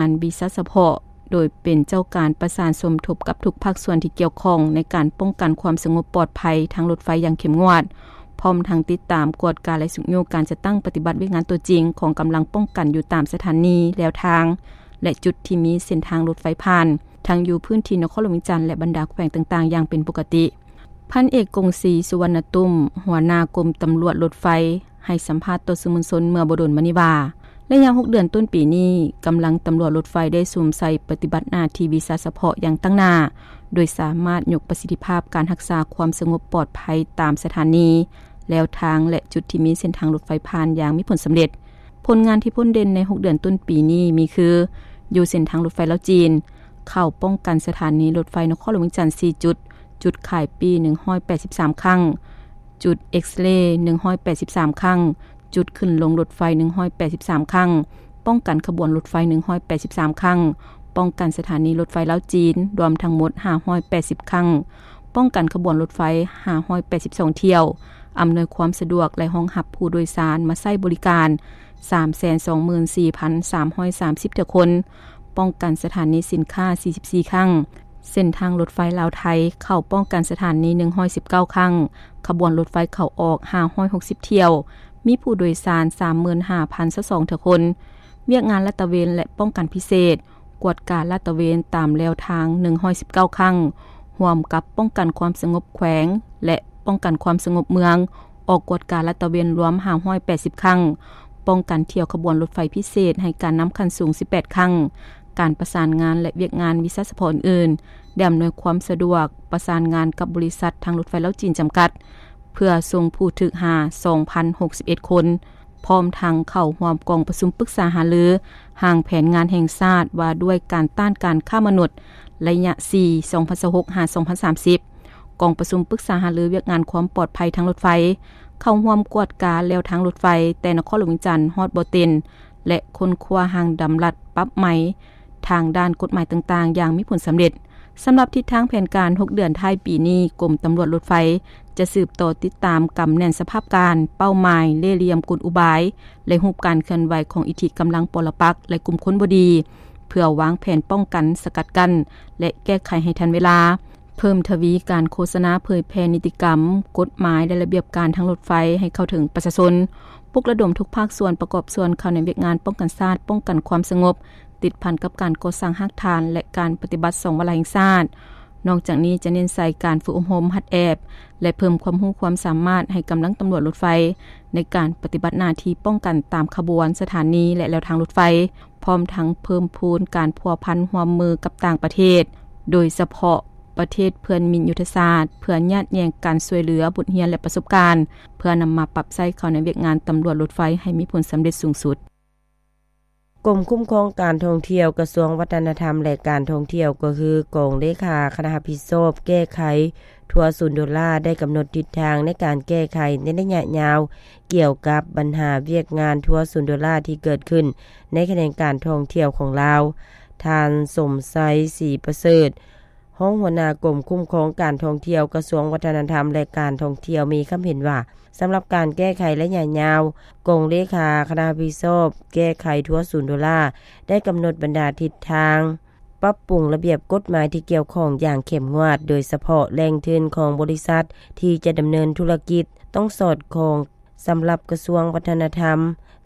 ງານວິຊາສະເພາະ ໂດຍເປັນເຈົ້າການປະສານສົມທົບກັບທຸກພາກສ່ວນທີ່ກ່ຽວຂ້ອງ ໃນການປ້ອງກັນຄວາມສະຫງົບປອດໄພທາງລົດໄຟຢ່າງເຂັ້ມງວດ, ພ້ອມທັງຕິດຕາມ, ກວດກາ ແລະ ຊຸກຍູ້ການຈັດຕັ້ງປະຕິບັດວຽກງານຕົວຈິງຂອງກຳລັງປ້ອງກັນຢູ່ຕາມສະຖານີ, ແລວທາງ ແລະ ຈຸດທີ່ມີເສັ້ນທາງລົດໄຟຜ່ານ, ທັງຢູ່ພື້ນທີ່ນະຄອນຫຼວງວຽງຈັນ ແລະ ບັນດາແຂວງຕ່າງໆ ຢ່າງເປັນປົກກະຕິ. ພັນເອກ ກົງສີ ສຸວັນນະຕຸ້ມ ຫົວໜ້າກົມຕຳຫຼວດລົດໄຟ ໃຫ້ສຳພາດຕໍ່ສື່ມວນຊົນເມື່ອບໍ່ດົນມານີ້ວ່າ, ໄລຍະຫົກເດືອນຕົ້ນປີນີ້, ກຳລັງຕຳຫຼວດລົດໄຟໄດ້ສຸມໃສ່ປະຕິບັດໜ້າທີ່ວິຊາສະເພາະຢ່າງຕັ້ງໜ້າ, ໂດຍສາມາດຍົກປະສິດທິພາບການຮັກສາຄວາມສະຫງົບປອດໄພຕາມສະຖານີ, ແລວທາງ ແລະ ຈຸດທີ່ມີເສັ້ນທາງລົດໄຟຜ່ານຢ່າງມີຜົນສຳເລັດ. ຜົນງານທີ່ພົ້ນເດັ່ນໃນຫົກເດືອນຕົ້ນປີນີ້ມີຄື, ຢູ່ເສັ້ນທາງລົດໄຟລາວ-ຈີນ, ເຂົ້າປ້ອງກັນສະຖານີລົດໄຟນະຄອນຫຼວງວຽງຈັນສີ່ຈຸດ, ຈຸດຂາຍປີ້ໜຶ່ງຮ້ອຍແປດສິບສາມຄັ້ງ, ຈຸດເອັກສະເຣໜຶ່ງຮ້ອຍແປດສິບສາມຄັ້ງ, ຈຸດຂຶ້ນລົງລົດໄຟໜຶ່ງຮ້ອຍແປດສິບສາມຄັ້ງ, ປ້ອງກັນຂະບວນລົດໄຟໜຶ່ງຮ້ອຍແປດສິບສາມຄັ້ງ, ປ້ອງກັນສະຖານີລົດໄຟລາວ-ຈີນ ລວມທັງໝົດຫ້າຮ້ອຍແປດສິບຄັ້ງ, ປ້ອງກັນຂະບວນລົດໄຟຫ້າຮ້ອຍແປດສິບສອງຖ້ຽວ, ອຳນວຍຄວາມສະດວກ ແລະ ຮອງຮັບຜູ້ໂດຍສານມາໃຊ້ບໍລິການສາມແສນສອງໝື່ນສີ່ພັນສາມຮ້ອຍສາມສິບຖ້ຽວຄົນ, ປ້ອງກັນສະຖານີສິນຄ້າສີ່ສິບສີ່ຄັ້ງ, ເສັ້ນທາງລົດໄຟລາວ-ໄທ ເຂົ້າປ້ອງກັນສະຖານີໜຶ່ງຮ້ອຍສິບເກົ້າຄັ້ງ, ຂະບວນລົດໄຟເຂົ້າອອກຫ້າຮ້ອຍຫົກສິບຖ້ຽວ, ມີຜູ້ໂດຍສານສາມໝື່ນຫ້າພັນຊາວສອງຖ້ຽວຄົນ, ວຽກງານລາດຕະເວນ ແລະ ປ້ອງກັນພິເສດ, ກວດກາລາດຕະເວນຕາມແລວທາງໜຶ່ງຮ້ອຍສິບເກົ້າຄັ້ງ, ຮ່ວມກັບປ້ອງກັນຄວາມສະຫງົບແຂວງ ແລະ ປ້ອງກັນຄວາມສະຫງົບເມືອງ, ອອກກວດກາລາດຕະເວນລວມຫ້າຮ້ອຍແປດສິບຄັ້ງ, ປ້ອງກັນຖ້ຽວຂະບວນລົດໄຟພິເສດໃຫ້ການນຳຂັ້ນສູງສິບແປດຄັ້ງ, ການປະສານງານ ແລະ ວຽກງານວິຊາສະເພາະອື່ນໆ, ໄດ້ອຳນວຍຄວາມສະດວກປະສານງານກັບບໍລິສັດທາງລົດໄຟລາວ-ຈີນ ຈຳກັດ ເພື່ອສົ່ງຜູ້ຖືກຫາສອງພັນຫົກສິບເອັດຄົນ, ພ້ອມທັງເຂົ້າຮ່ວມກອງປະຊຸມປຶກສາຫາລືຮ່າງແຜນງານແຫ່ງຊາດວ່າດ້ວຍການຕ້ານການຄ້າມະນຸດ ໄລຍະສີ່ ສອງພັນຊາວຫົກ ຫາ ສອງພັນສາມສິບ, ກອງປະຊຸມປຶກສາຫາລືວຽກງານຄວາມປອດໄພທາງລົດໄຟ, ເຂົ້າຮ່ວມກວດກາແລວທາງລົດໄຟແຕ່ນະຄອນຫຼວງວຽງຈັນຮອດບໍ່ເຕັນ ແລະ ຄົ້ນຄວ້າຮ່າງດຳລັດປັບໃໝ ທາງດ້ານກົດໝາຍຕ່າງໆຢ່າງມີຜົນສຳເລັດ. ສຳລັບທິດທາງແຜນການຫົກເດືອນທ້າຍປີນີ້, ກົມຕຳຫຼວດລົດໄຟຈະສືບຕໍ່ຕິດຕາມກຳແໜ້ນສະພາບການ, ເປົ້າໝາຍ, ເລ່ຫຼ່ຽມ, ກົນອຸບາຍ ແລະ ຮູບການເຄື່ອນໄຫວຂອງອິດທິກຳລັງປໍລະປັກ ແລະ ກຸ່ມຄົນບໍ່ດີ, ເພື່ອວາງແຜນປ້ອງກັນ, ສະກັດກັ້ນ ແລະ ແກ້ໄຂໃຫ້ທັນເວລາ, ເພີ່ມທະວີການໂຄສະນາເຜີຍແຜ່ນິຕິກຳ, ກົດໝາຍ ແລະ ລະບຽບການທາງລົດໄຟໃຫ້ເຂົ້າເຖິງປະຊາຊົນ, ປຸກລະດົມທຸກພາກສ່ວນປະກອບສ່ວນເຂົ້າໃນວຽກງານປ້ອງກັນຊາດ, ປ້ອງກັນຄວາມສະຫງົບ, ຕິດພັນກັບການກໍ່ສ້າງຮາກຖານ ແລະ ການປະຕິບັດສອງວາລະແຫ່ງຊາດ. ນອກຈາກນີ້ຈະເນັ້ນໃສ່ການຝຶກອົບຮົມ, ຫັດແອບ ແລະ ເພີ່ມຄວາມຮູ້ຄວາມສາມາດໃຫ້ກຳລັງຕຳຫຼວດລົດໄຟ ໃນການປະຕິບັດໜ້າທີ່ປ້ອງກັນຕາມຂະບວນ, ສະຖານີ ແລະ ແລວທາງລົດໄຟ, ພ້ອມທັງເພີ່ມພູນການພົວພັນຮ່ວມມືກັບຕ່າງປະເທດ, ໂດຍສະເພາະປະເທດເພື່ອນມິດຍຸດທະສາດ, ເພື່ອຍາດແຍ່ງການຊ່ວຍເຫຼືອ, ບົດຮຽນ ແລະ ປະສົບການ, ເພື່ອນຳມາປັບໃຊ້ເຂົ້າໃນວຽກງານຕຳຫຼວດລົດໄຟໃຫ້ມີຜົນສຳເລັດສູງສຸດ. ກົມຄຸ້ມຄອງການທ່ອງທ່ຽວ ກະຊວງວັດທະນະທຳ ແລະ ການທ່ອງທ່ຽວ ກໍຄືກອງເລຂາຄະນະຮັບຜິດຊອບແກ້ໄຂທົວສູນໂດລາ ໄດ້ກຳນົດທິດທາງໃນການແກ້ໄຂໃນໄລຍະຍາວ ກ່ຽວກັບບັນຫາວຽກງານທົວສູນໂດລາທີ່ເກີດຂຶ້ນໃນຂະແໜງການທ່ອງທ່ຽວຂອງລາວ. ທ່ານ ສົມໄຊ ສີປະເສີດ ຮອງຫົວໜ້າກົມຄຸ້ມຄອງການທ່ອງທ່ຽວ ກະຊວງວັດທະນະທຳ ແລະ ການທ່ອງທ່ຽວ ມີຄຳເຫັນວ່າ, ສຳລັບການແກ້ໄຂໄລຍະຍາວ, ກອງເລຂາຄະນະຮັບຜິດຊອບແກ້ໄຂທົວສູນໂດລາ ໄດ້ກຳນົດບັນດາທິດທາງ ປັບປຸງລະບຽບກົດໝາຍທີ່ກ່ຽວຂ້ອງຢ່າງເຂັ້ມງວດ, ໂດຍສະເພາະແຫຼ່ງທຶນຂອງບໍລິສັດທີ່ຈະດຳເນີນທຸລະກິດຕ້ອງສອດຄ່ອງ. ສຳລັບກະຊວງວັດທະນະທຳ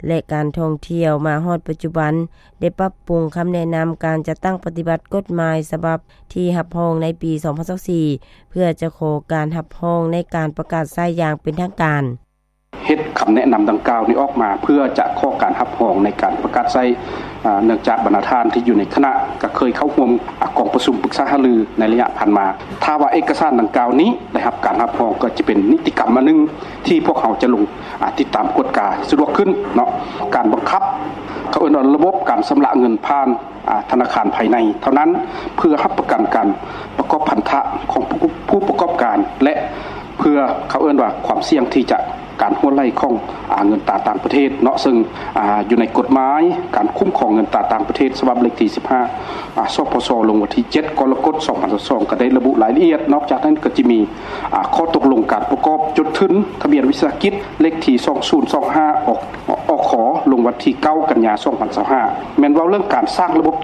ແລະ ການທ່ອງທ່ຽວ, ມາຮອດປັດຈຸບັນ ໄດ້ປັບປຸງຄຳແນະນຳການຈັດຕັ້ງປະຕິບັດກົດໝາຍສະບັບທີ່ຮັບຮອງໃນປີສອງພັນຊາວສີ່ ເພື່ອຈະຂໍການຮັບຮອງໃນການປະກາດໃຊ້ຢ່າງເປັນທາງການ. ເຮັດຄຳແນະນຳດັ່ງກ່າວນີ້ອອກມາ ເພື່ອຈະຂໍການຮັບຮອງໃນການປະກາດໃຊ້, ອາ, ເນື່ອງຈາກບັນດາທ່ານທີ່ຢູ່ໃນຄະນະກໍເຄີຍເຂົ້າຮ່ວມ, ອາ, ກອງປະຊຸມປຶກສາຫາລືໃນໄລຍະຜ່ານມາ. ຖ້າວ່າເອກະສານດັ່ງກ່າວນີ້ໄດ້ຮັບການຮັບຮອງ, ກໍຈະເປັນນິຕິກຳອັນໜຶ່ງທີ່ພວກເຮົາຈະລົງ, ອາ, ຕິດຕາມກວດກາສະດວກຂຶ້ນເນາະ. ການບັງຄັບ, ເຂົາເອີ້ນວ່າລະບົບການຊຳລະເງິນຜ່ານ, ອາ, ທະນາຄານພາຍໃນເທົ່ານັ້ນ, ເພື່ອຮັບປະກັນການປະກອບພັນທະຂອງຜູ້, ຜູ້ປະກອບການ ແລະ ເພື່ອເຂົາເອີ້ນວ່າຄວາມສ່ຽງທີ່ຈະ ການຮົ່ວໄຫຼຂອງ, ອາ, ເງິນຕາຕ່າງປະເທດເນາະ, ເຊິ່ງ, ອາ, ຢູ່ໃນກົດໝາຍການຄຸ້ມຄອງເງິນຕາຕ່າງປະເທດ ສະບັບເລກທີສິບຫ້າ, ອາ, ສປຊ ລົງວັນທີເຈັດ ກໍລະກົດ ສອງພັນຊາວສອງ ກໍໄດ້ລະບຸລາຍລະອຽດ. ນອກຈາກນັ້ນກໍຈະມີ, ອາ, ຂໍ້ຕົກລົງການປະກອບຈົດທຶນທະບຽນວິສາຫະກິດ ເລກທີສອງສູນສອງຫ້າ ອອກ, ອອກ ຂໍ ລົງວັນທີ ເກົ້າ ກັນຍາ ສອງພັນຊາວຫ້າ ແມ່ນເວົ້າເລື່ອງການສ້າງລະບົບ